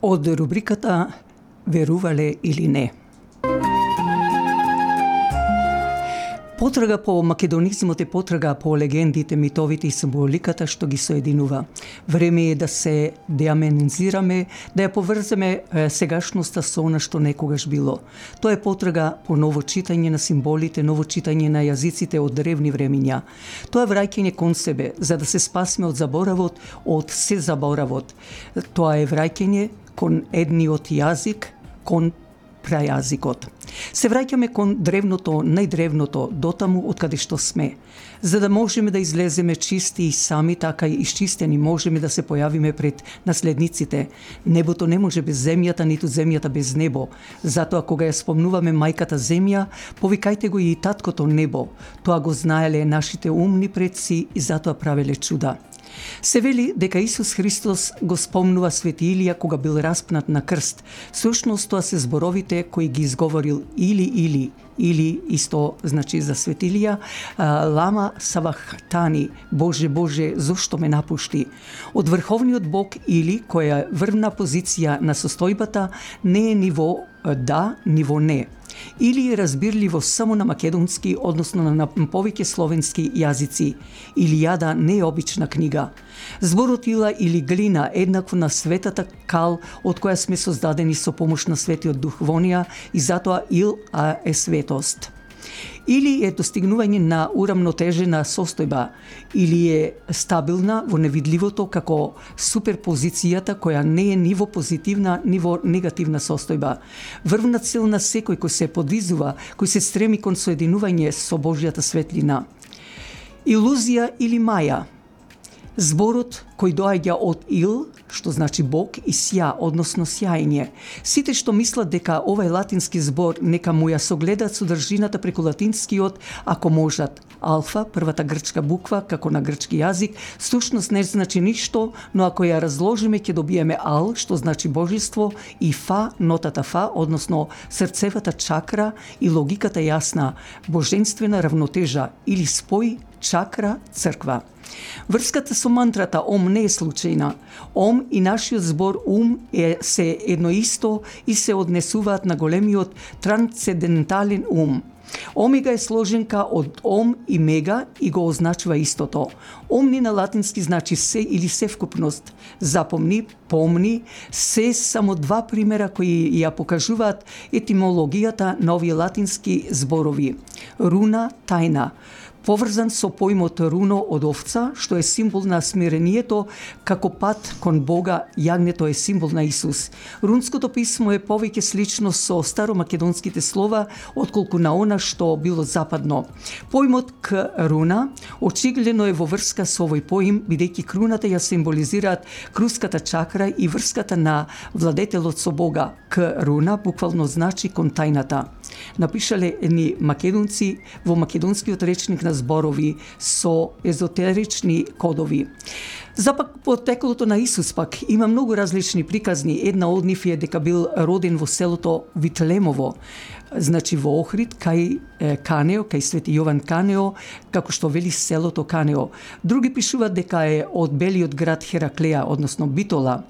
од рубриката Верувале или не. Потрага по македонизмот е потрага по легендите, митовите и символиката што ги соединува. Време е да се деаменизираме, да ја поврземе сегашноста со она што некогаш било. Тоа е потрага по ново читање на символите, ново читање на јазиците од древни времиња. Тоа е враќање кон себе, за да се спасиме од заборавот, од се заборавот. Тоа е враќање кон едниот јазик, кон прајазикот. Се враќаме кон древното, најдревното, дотаму од каде што сме. За да можеме да излеземе чисти и сами, така и исчистени, можеме да се појавиме пред наследниците. Небото не може без земјата, ниту земјата без небо. Затоа кога ја спомнуваме мајката земја, повикајте го и таткото небо. Тоа го знаеле нашите умни предци и затоа правеле чуда. Се вели дека Исус Христос го спомнува Свети Илија кога бил распнат на крст. Сушност тоа се зборовите кои ги изговорил или исто значи за Свети Илија, лама савахтани, Боже, Боже, зошто ме напушти? Од врховниот Бог или која врвна позиција на состојбата не е ниво да, ниво не. Или е разбирливо само на македонски, односно на повеќе словенски јазици. Илијада не е обична книга. Зборот ила или глина еднакво на светата кал од која сме создадени со помош на Светиот Дух во неа и затоа ил е светост. Или е достигнување на урамнотежена состојба, или е стабилна во невидливото како суперпозицијата која не е ниво позитивна, ниво негативна состојба. Врвна цел на секој кој се подвизува, кој се стреми кон соединување со Божјата светлина. Илузија или маја. Зборот кој доаѓа од ил, што значи Бог, и сја, односно сјајње. Сите што мислат дека овај латински збор нека му ја согледат содржината преку латинскиот, ако можат. Алфа, првата грчка буква, како на грчки јазик, сушност не значи ништо, но ако ја разложиме ќе добиеме ал, што значи божество, и фа, нотата фа, односно срцевата чакра и логиката јасна, божествена равнотежа или спој, чакра, црква. Врската со мантрата Ом не е случајна. Ом и нашиот збор ум се едно исто и се однесуваат на големиот трансцендентален ум. Омега е сложенка од ом и мега и го означува истото. Омни на латински значи се или севкупност. Запомни, помни, се само два примера кои ја покажуваат етимологијата на овие латински зборови. Руна, тајна. Поврзан со поимот руно од овца, што е символ на смирението, како пат кон Бога, јагнето е символ на Исус. Рунското писмо е повеќе слично со старомакедонските слова, отколку на она што било западно. Поимот к руна очигледно е во врска со овој поим, бидејќи круната ја символизираат круската чакра и врската на владетелот со Бога. К руна буквално значи кон тајната. Напишале едни македонци во македонскиот речник на зборови со езотерични кодови. За пак потеклото на Исус пак има многу различни приказни. Една од нив е дека бил роден во селото Витлемово, значи во Охрид, кај Канео, кај Свети Јован Канео, како што вели селото Канео. Други пишуваат дека е од белиот град Хераклеја, односно Битола.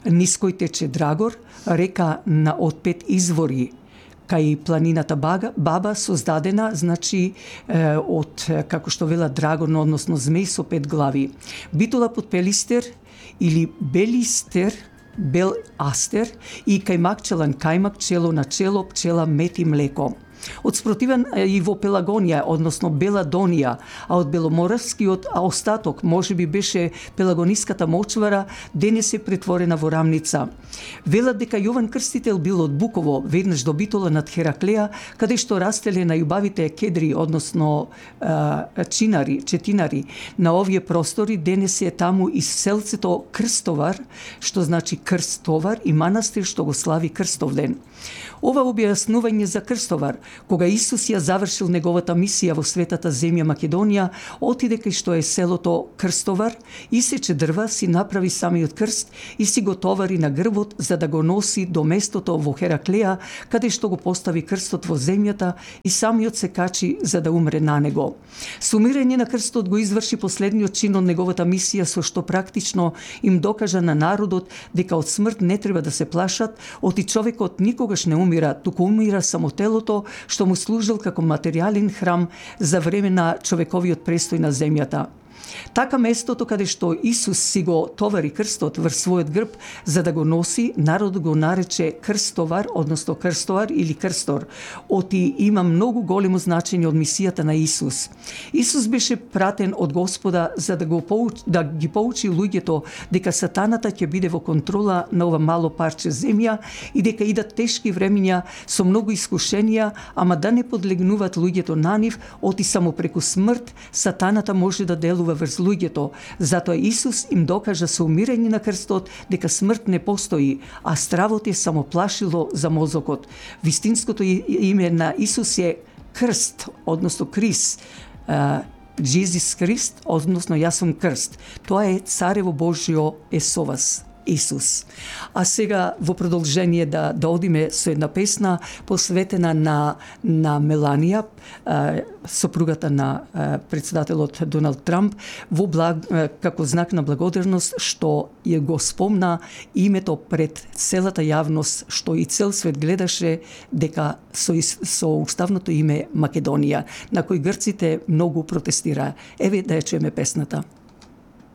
Низ кој тече Драгор, река на од 5 извори, кај планината Баба создадена, значи од, како што вела Драгон, односно змеј со 5 глави. Битола под Пелистер или Белистер, Бел Астер и кајмак челан кајмак, чело на чело, пчела, мед и млеко. Од спротивен и во Пелагонија, односно Беладонија, а од Беломорскиот остаток можеби беше Пелагониската мочвара, денес е претворена во рамница. Велат дека Јован Крстител бил од Буково, веднаш до Битола над Хераклеја, каде што растеле најубавите кедри, односно четинари. На овие простори денес е таму и селцето Крстовар, што значи крстовар, и манастир што го слави Крстовден. Ова објаснување за Крстовар Кога Исус ја завршил неговата мисија во светата земја Македонија, отиде кај што е селото Крстовар, исече дрва, си направи самиот крст и си го товари на грбот за да го носи до местото во Хераклеја, каде што го постави крстот во земјата и самиот се качи за да умре на него. Со умирање на крстот го изврши последниот чин од неговата мисија, со што практично им докажа на народот дека од смрт не треба да се плашат, оти човекот никогаш не умира, туку умира само телото што му служил како материјален храм за време на човековиот престој на земјата. Така местото каде што Исус си го товари крстот врз својот грб за да го носи, народот го нарече Крстовар, односно Крстовар или Крстор. Оти има многу големо значење од мисијата на Исус. Исус беше пратен од Господа за да ги поучи луѓето дека сатаната ќе биде во контрола на ова мало парче земја и дека идат тешки времиња со многу искушенија, ама да не подлегнуваат луѓето на нив, оти само преку смрт сатаната може да делува врз луѓето. Затоа Исус им докажа со умирање на крстот дека смрт не постои, а стравот е само плашило за мозокот. Вистинското име на Исус е Крст, односно Крис. Jesus Крист, односно јас сум крст. Тоа е Царево Божјо е со вас. Исус. А сега во продолжение да одиме со една песна посветена на Меланија, сопругата на председателот Доналд Трамп, како знак на благодарност што ја го спомна името пред целата јавност, што и цел свет гледаше дека со уставното име Македонија, на кој грците многу протестираа. Еве да ја чуеме песната.